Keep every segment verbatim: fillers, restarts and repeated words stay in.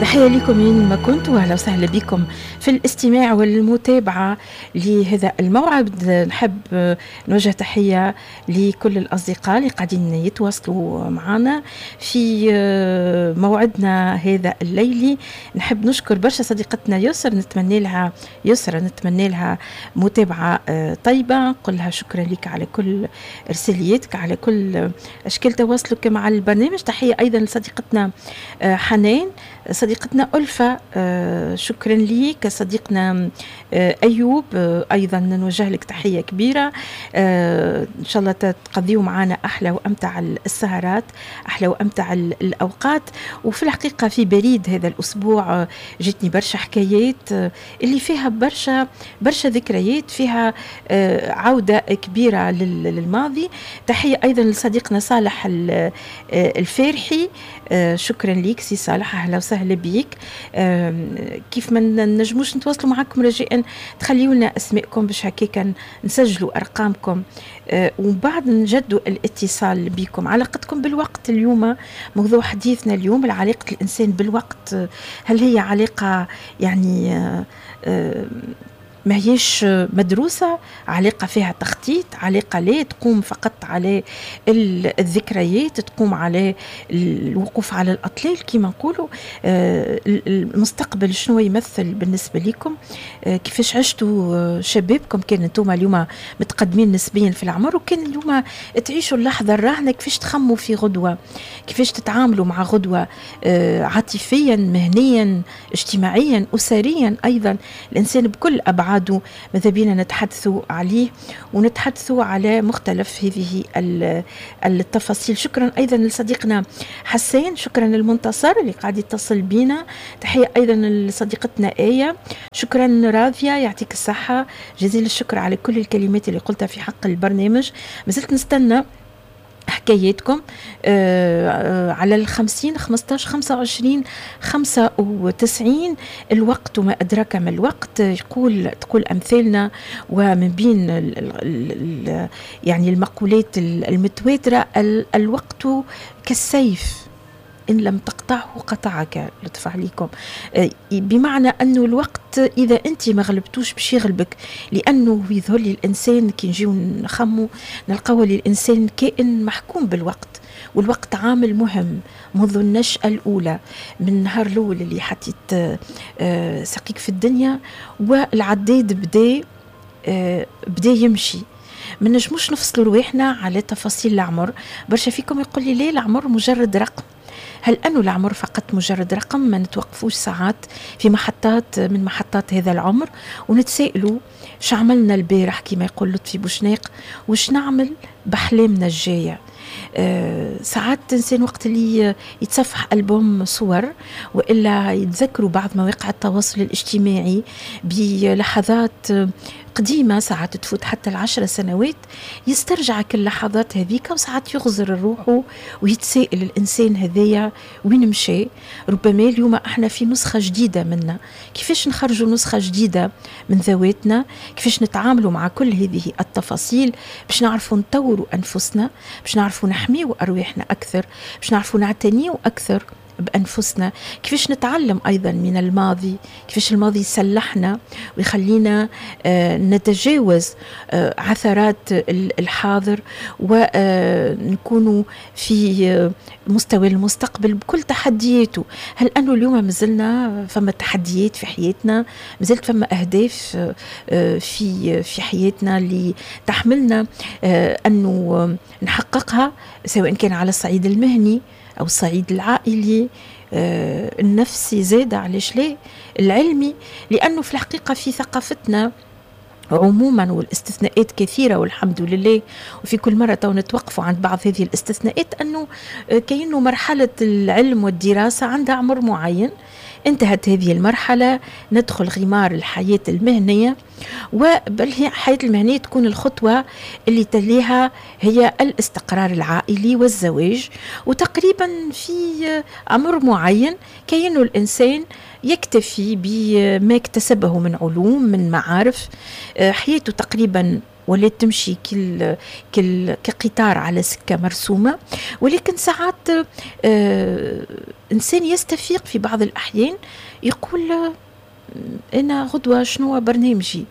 تحية لكم وين ما كنتوا، أهلا وسهلا بكم في الاستماع والمتابعة لهذا الموعد. نحب نوجه تحية لكل الأصدقاء اللي قاعدين يتواصلوا معنا في موعدنا هذا الليلي. نحب نشكر برشا صديقتنا يسر، نتمنى لها يسرى نتمنى لها متابعة طيبة، نقول لها شكرا لك على كل إرسالياتك، على كل أشكال تواصلك مع البرنامج. تحية أيضا لصديقتنا حنان، صديقتنا ألفة، شكرا ليك. صديقنا أيوب أيضا نوجه لك تحية كبيرة، إن شاء الله تقضيوا معنا أحلى وأمتع السهرات، أحلى وأمتع الأوقات. وفي الحقيقة في بريد هذا الأسبوع جتني برشا حكايات اللي فيها برشا برشا ذكريات، فيها عودة كبيرة للماضي. تحية أيضا لصديقنا صالح الفارحي، شكرا ليك سي صالح، أهلا وسهلا بيك. كيف ما نجموش نتواصلوا معكم رجاء تخليوا لنا اسماءكم باش هكاك نسجلوا ارقامكم ومن بعد نجدوا الاتصال بكم. علاقتكم بالوقت اليوم موضوع حديثنا اليوم، علاقة الانسان بالوقت، هل هي علاقة يعني ما هيش مدروسة، علاقة فيها تخطيط، علاقة لا تقوم فقط على الذكريات، تقوم على الوقوف على الأطلال كما نقولوا. المستقبل شنو يمثل بالنسبة لكم، كيفاش عشتوا شبابكم، كان انتم اليوم متقدمين نسبيا في العمر، وكان اليوم تعيشوا اللحظة الراهنة، كيفاش تخموا في غدوة، كيفاش تتعاملوا مع غدوة عاطفيا، مهنيا، اجتماعيا، أسريا. أيضا الإنسان بكل أبعاد ماذا بينا نتحدثوا عليه ونتحدثوا على مختلف هذه التفاصيل. شكرا أيضا لصديقنا حسين، شكرا للمنتصر اللي قاعد يتصل بينا، تحية أيضا لصديقتنا آية، شكرا راضية، يعطيك الصحة، جزيل الشكر على كل الكلمات اللي قلتها في حق البرنامج. مازلت نستنى حكاياتكم آه على الخمسين خمستاش خمسة وعشرين خمسة وتسعين. الوقت وما أدراك ما الوقت، يقول تقول أمثالنا، ومن بين ال ال يعني المقولات المتواترة، الوقت كالسيف إن لم تقطعه قطعك. لطف عليكم، بمعنى أنه الوقت إذا أنت ما غلبتوش باش يغلبك، لأنه يظهر لي الإنسان كي نجيو نخمو نلقاو لي الإنسان كائن محكوم بالوقت، والوقت عامل مهم منذ النشأة الأولى، من النهار الأول اللي حطيت ساقيك في الدنيا والعداد بدا بدا يمشي. ما نجموش نفصلوا رواحنا على تفاصيل العمر. برشا فيكم يقول لي ليه العمر مجرد رقم؟ هل أنه العمر فقط مجرد رقم؟ ما نتوقفوش ساعات في محطات من محطات هذا العمر ونتسائلوا شو عملنا البارح كما يقول لطفي بوشناق، وش نعمل بأحلامنا الجاية. أه ساعات إنسان وقت اللي يتصفح ألبوم صور وإلا يتذكروا بعض مواقع التواصل الاجتماعي بلحظات قديمة، ساعات تفوت حتى العشر سنوات، يسترجع كل اللحظات هذيك، وساعات يغزر الروح ويتسائل الإنسان هذايا وين مشى. ربما اليوم احنا في نسخة جديدة منا، كيفاش نخرجوا نسخة جديدة من ذواتنا، كيفاش نتعاملوا مع كل هذه التفاصيل باش نعرفوا نطوروا أنفسنا، باش نعرفوا نحميوا أرواحنا أكثر، باش نعرفوا نعتنيوا أكثر بأنفسنا، كيفاش نتعلم أيضا من الماضي، كيفاش الماضي يسلحنا ويخلينا نتجاوز عثرات الحاضر ونكون في مستوى المستقبل بكل تحدياته. هل أنه اليوم مازلنا فما تحديات في حياتنا، مازلت فما أهداف في في حياتنا اللي تحملنا أنه نحققها، سواء كان على الصعيد المهني أو الصعيد العائلي، آه، النفسي زاد، علاش لا العلمي. لأنه في الحقيقة في ثقافتنا عموما، والاستثناءات كثيرة والحمد لله، وفي كل مرة تو نتوقفوا عند بعض هذه الاستثناءات، أنه كأنه مرحلة العلم والدراسة عندها عمر معين، انتهت هذه المرحلة ندخل غمار الحياة المهنية، وبل هي الحياة المهنية تكون الخطوة اللي تليها هي الاستقرار العائلي والزواج، وتقريبا في عمر معين كأنه الإنسان يكتفي بما اكتسبه من علوم، من معارف، حياته تقريبا ولات تمشي كل كل كقطار على سكة مرسومة. ولكن ساعات آه إنسان يستفيق في بعض الأحيان يقول آه، أنا غدوة شنو برنامجي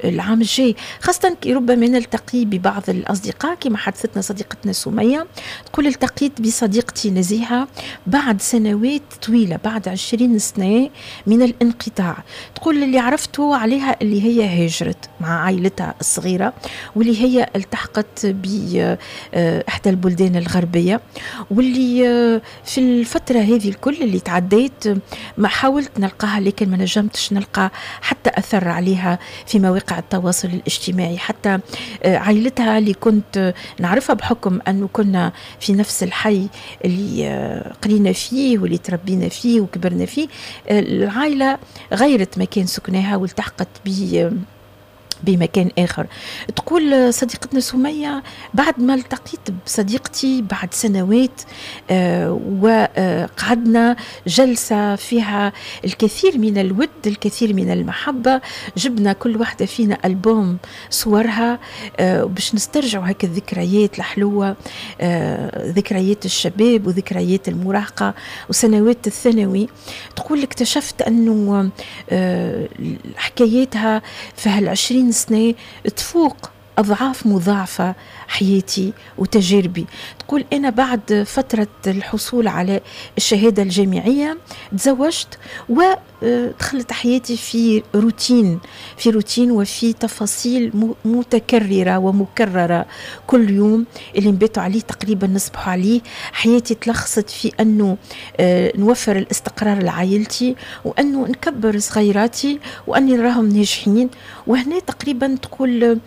العام الجاي، خاصة كي ربما نلتقي ببعض الأصدقاء كما حدثتنا صديقتنا سمية، تقول التقيت بصديقتي نزيهة بعد سنوات طويلة، بعد عشرين سنة من الانقطاع. تقول اللي عرفته عليها اللي هي هاجرت مع عائلتها الصغيرة، واللي هي التحقت بإحدى البلدان الغربية، واللي في الفترة هذه الكل اللي تعديت ما حاولت نلقاها لكن ما نجمتش نلقى حتى أثر عليها في مواقع التواصل الاجتماعي. حتى عائلتها اللي كنت نعرفها بحكم أنه كنا في نفس الحي اللي قرينا فيه واللي تربينا فيه وكبرنا فيه، العائلة غيرت مكان سكنها والتحقت ب بمكان آخر. تقول صديقتنا سمية بعد ما التقيت بصديقتي بعد سنوات آه وقعدنا جلسة فيها الكثير من الود، الكثير من المحبة، جبنا كل واحدة فينا ألبوم صورها آه باش نسترجعوا هكا الذكريات الحلوة، آه ذكريات الشباب وذكريات المراهقة وسنوات الثانوي. تقول اكتشفت أنه آه حكاياتها في هالعشرين سنة تفوق أضعاف مضاعفة حياتي وتجاربي. تقول أنا بعد فترة الحصول على الشهادة الجامعية تزوجت ودخلت حياتي في روتين، في روتين وفي تفاصيل متكررة ومكررة كل يوم اللي نباتوا عليه تقريبا نصبحوا عليه. حياتي تلخصت في أنه نوفر الاستقرار لعائلتي، وأنه نكبر صغيراتي، وأني نراهم ناجحين. وهنا تقريبا تقول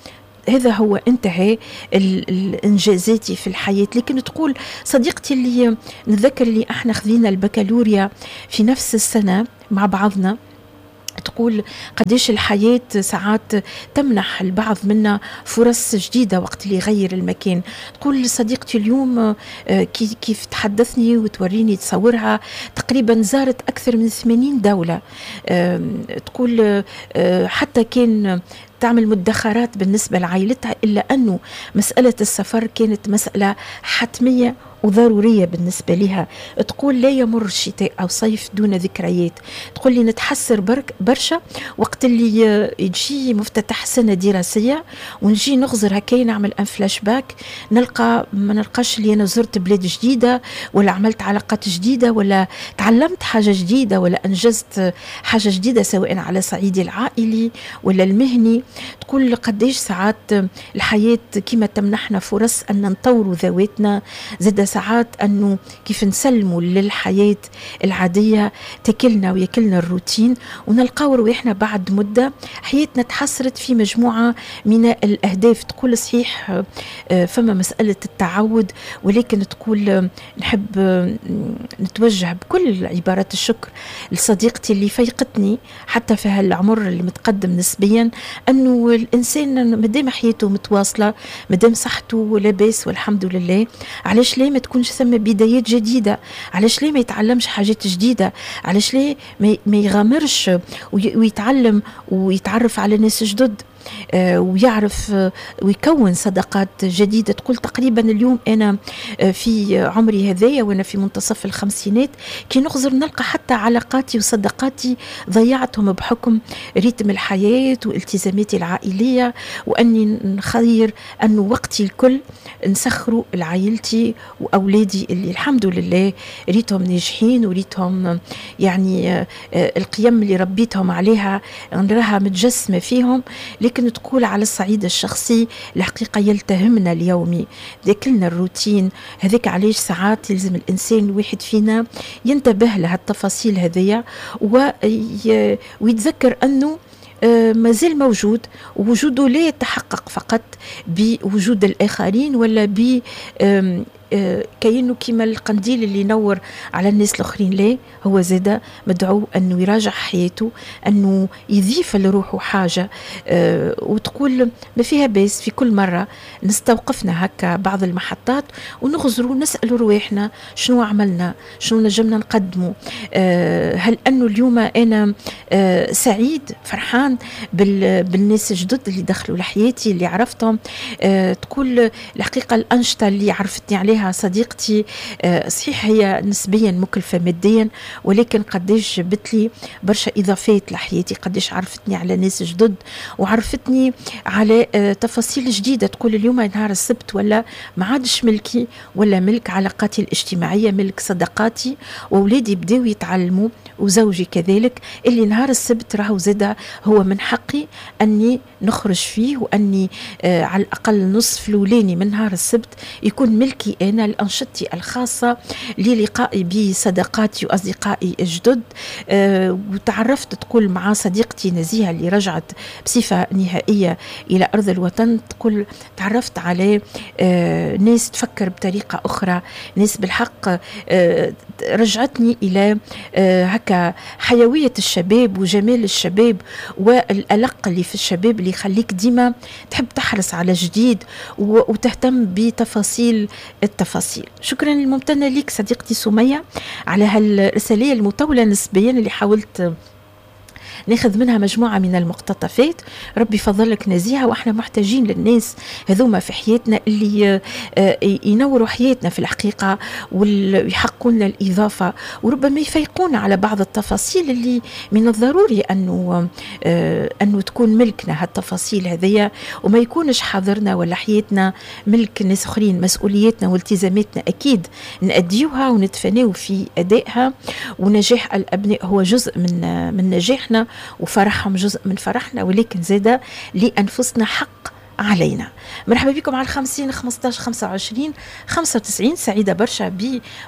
هذا هو انتهى الانجازاتي في الحياة. لكن تقول صديقتي اللي نتذكر اللي احنا خذينا البكالوريا في نفس السنة مع بعضنا، تقول قديش الحياة ساعات تمنح البعض منا فرص جديدة وقت اللي يغير المكان. تقول صديقتي اليوم كيف تحدثني وتوريني تصورها تقريبا زارت أكثر من ثمانين دولة. تقول حتى كان تعمل مدخرات بالنسبة لعائلتها، إلا أنه مسألة السفر كانت مسألة حتمية وضرورية بالنسبة لها. تقول لا يمر شتاء أو صيف دون ذكريات. تقول لي نتحسر برك برشا وقت اللي يجي مفتتح سنة دراسية ونجي نغزر هكا نعمل un flashback، نلقى ما نلقاش اللي أنا زرت بلاد جديدة ولا عملت علاقات جديدة ولا تعلمت حاجة جديدة ولا أنجزت حاجة جديدة سواء على صعيدي العائلي ولا المهني. تقول قديش ساعات الحياة كما تمنحنا فرص أن نطوروا ذواتنا، زاد ساعات أنه كيف نسلموا للحياة العادية تاكلنا وياكلنا الروتين، ونلقاو رواحنا بعد مدة حياتنا تحصرت في مجموعة من الأهداف. تقول صحيح فما مسألة التعود، ولكن تقول نحب نتوجه بكل عبارات الشكر لصديقتي اللي فيقتني حتى في هالعمر اللي متقدم نسبيا، أنه الإنسان مادام حياته متواصلة، مادام صحته لاباس والحمد لله، علاش ليه ما تكونش ثم بدايات جديدة؟ علاش ليه ما يتعلمش حاجات جديدة؟ علاش ليه ما يغامرش ويتعلم ويتعرف على ناس جدد ويعرف ويكون صداقات جديدة؟ تقول تقريبا اليوم أنا في عمري هذايا وأنا في منتصف الخمسينات كي نغزر نلقى حتى علاقاتي وصداقاتي ضيعتهم بحكم رتم الحياة والتزاماتي العائلية، وأني نخير أنه وقتي الكل نسخره لعائلتي وأولادي اللي الحمد لله ريتهم ناجحين وريتهم يعني القيم اللي ربيتهم عليها نراها متجسمة فيهم. لكن تقول على الصعيد الشخصي الحقيقة يلتهمنا اليومي، ذاكلنا الروتين هذاك. علاش ساعات يلزم الإنسان الواحد فينا ينتبه لهالتفاصيل هذيا ويتذكر أنه مازال موجود، ووجوده لا يتحقق فقط بوجود الآخرين ولا ب كأنه كيما القنديل اللي ينور على الناس الاخرين، لا، هو زاده مدعو انه يراجع حياته، انه يضيف لروحه حاجة. أه وتقول ما فيها باس في كل مرة نستوقفنا هكا بعض المحطات ونغزروا نسالوا رواحنا شنو عملنا، شنو نجمنا نقدموا، أه هل انه اليوم انا أه سعيد فرحان بالناس الجدد اللي دخلوا لحياتي اللي عرفتهم. أه تقول الحقيقة الانشطة اللي عرفتني عليها صديقتي أه صحيح هي نسبيا مكلفة ماديا، ولكن قداش جبت لي برشا اضافات لحياتي، قداش عرفتني على ناس جدد وعرفتني على أه تفاصيل جديدة. تقول اليوم نهار السبت ولا ما عادش ملكي ولا ملك علاقاتي الاجتماعية، ملك صداقاتي، واولادي بداو يتعلموا وزوجي كذلك، اللي نهار السبت راهو زاده هو من حقي اني نخرج فيه، واني آه على الاقل نصف الاولاني من نهار السبت يكون ملكي انا لانشطتي الخاصة، للقائي بصداقاتي واصدقائي الجدد. آه وتعرفت تقول مع صديقتي نزيهة اللي رجعت بصفة نهائية الى ارض الوطن، تقول تعرفت على آه ناس تفكر بطريقة اخرى، ناس بالحق آه رجعتني الى آه هكا حيوية الشباب وجمال الشباب والألق اللي في الشباب اللي يخليك ديما تحب تحرص على جديد وتهتم بتفاصيل التفاصيل. شكرا الممتنة لك صديقتي سمية على هالرسالة المطولة نسبيا اللي حاولت ناخذ منها مجموعة من المقتطفات. ربي فضلك نزيهة، واحنا محتاجين للناس هذوما في حياتنا اللي ينوروا حياتنا في الحقيقة ويحققوا لنا الإضافة، وربما يفيقونا على بعض التفاصيل اللي من الضروري أنه أنه تكون ملكنا هالتفاصيل هذيا، وما يكونش حاضرنا ولا حياتنا ملك ناس أخرين. مسؤولياتنا والتزاماتنا أكيد نأديوها ونتفاناو في أدائها، ونجاح الأبناء هو جزء من من نجاحنا وفرحهم جزء من فرحنا، ولكن زادة لأنفسنا حق علينا. مرحبا بكم على الخمسين خمسطاش خمسة وعشرين خمسة وتسعين. سعيدة برشا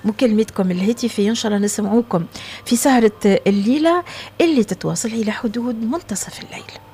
بمكالمتكم الهاتفية، إن شاء الله نسمعوكم في سهرة الليلة اللي تتواصل إلى حدود منتصف الليل.